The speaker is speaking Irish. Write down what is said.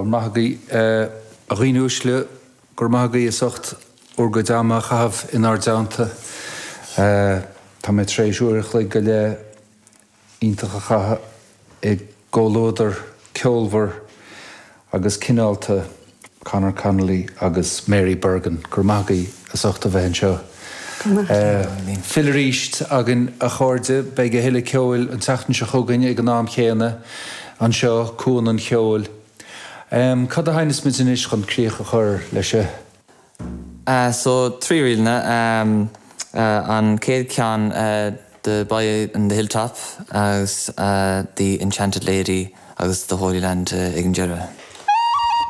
Go raibh maith agaibh, a dhaoine uaisle, go raibh maith agaibh as ucht bhur gcuid ama a chaitheamh inár dteannta. Tá mé tar éis uair a chloig go leith iontach a chaitheamh i gcomhluadar ceolmhar agus cineálta Conor Connolly agus Mary Bergin. Go raibh maith agaibh as ucht a bheith anseo. Fill arís againn a chairde. Beidh a thuilleadh ceoil an tseachtain seo chugainn ag an am chéanna anseo, Cuan an Cheoil. Cad a sheinneas muid anois chun críoch a chur leis a. So, 3 ríleanna. An chéad cheann The Boy on the Hilltop agus The Enchanted Lady agus The Holy Land ag an deireadh.